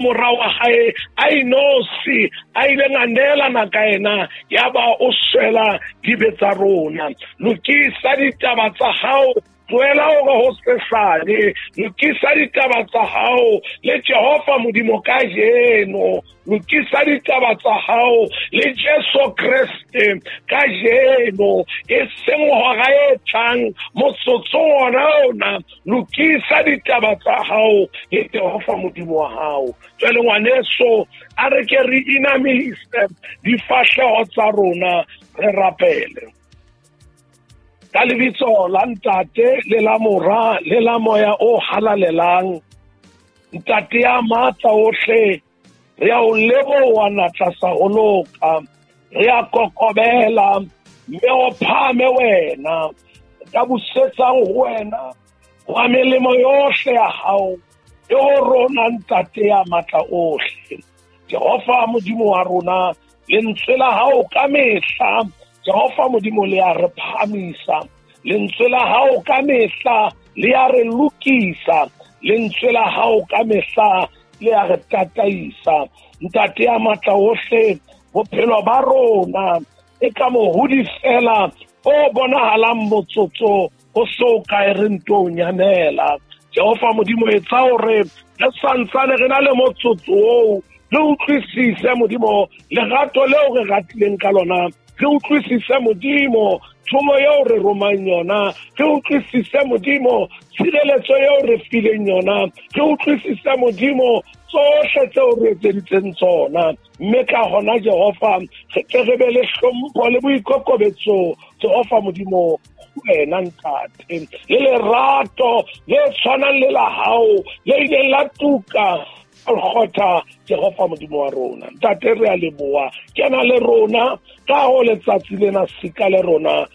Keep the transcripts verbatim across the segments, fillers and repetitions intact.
Mora wa hae a inosi a ileng a neelana ka yena, ya ba o swela dibe tsa rona. Lokisa ditaba tsa hao, tlohela hore ho sesane. Lokisa ditaba tsa hao le Jehova Modimo kajeno. Lokisa ditaba tsa hao le Jesu Kreste kajeno, e seng hora e tlang, motsotso ona ona. Lokisa ditaba tsa hao le Jehova Modimo wa hao. Jwale ngwaneso, a re ke re inamise difahleho tsa rona, re rapele. Ka lebitso la Ntate le la Mora le la Moya o Halalelang, Ntate ya matla ohle, re a o leboha natla sa ho loka, re a kokobela mme o phahame wena. Ka busetsang ho wena wa melemo yohle ya hao e ho rona, Ntate ya matla ohle. Jehova Modimo wa rona, lentswe la hao ka mehla, Jehova Modimo, le a re phahamisa. Lentswe la hao ka mehla le a re lokisa. Lentswe la hao ka mehla le a re tataisa. Ntate ya matla ohle, bophelo ba rona e ka mohodi fela o bonahalang motsotso o so kae re nto nyamela. Jehova Modimo, etsa hore re santsane re na le motsotso oo, re utlwisise Modimo lerato leo re ratileng ka lona, re utlwisise Modimo thomo eo re romang yona, re utlwisise Modimo tshireletso eo re fileng yona, re utlwisise Modimo tsohle tseo re etseditseng tsona. Mme ka hona Jehova, re tle re be le hlompho le boikokobetso, Jehova Modimo, wena Ntate, le lerato le tshwanang le la hao le ileng la tuka Golgotha, Jehova Modimo wa rona. Ntate, re a leboha, kena le rona ka ho letsatsi lena, sika le rona,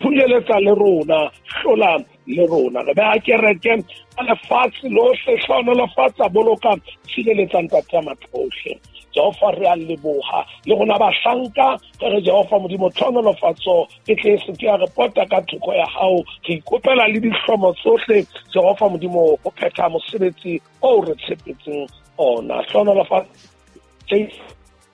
phunyeletsa le rona, hlola le rona. Re beha kereke ka lefatshe lohle, hlohonolofatsa, boloka, tshireletsa Ntate ya matla ohle. Jehova, re a leboha le rona bahlanka, re re Jehova Modimo, tlhohonolofatso e tle e se ke ya re pota ka thoko ya hao. Re ikopela le dihlomo tsohle, Jehova Modimo, ho phetha mosebetsi oo re tshepetseng ona. Hlohonolofatsa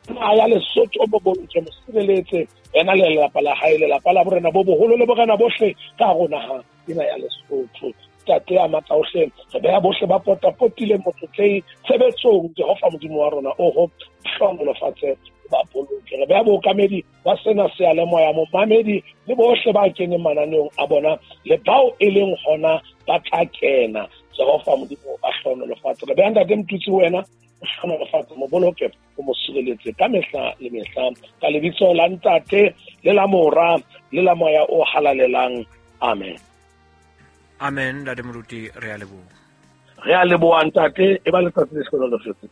ya Lesotho, mo boloke, mo sireletse yena le lelapa la hae, lelapa la borena bo boholo le borena bohle ka hare ho naha ena ya Lesotho. Ntate ya matla ohle, re beha bohle ba potapotileng motlotlei tshebetsong, Jehova Modimo wa rona, oho hlohonolofatse, ba boloke. Re beha bookamedi ba sena seyalemoya, momamedi le bohle ba keneng mananeong a bona le bao e leng hona ba tla kena, Jehova Modimo, ba hlohonolofatse. Re beha Ntate Motutsi wena, o hlohonolofatse, mo boloke, o mo sireletse ka mehla le mehla, ka lebitso la Ntate le la Mora le la Moya o Halalelang. Amen. Amen. Ntate Moruti, re a leboha. Re a leboha Ntate, e ba letsatsi le hlohonolofetseng.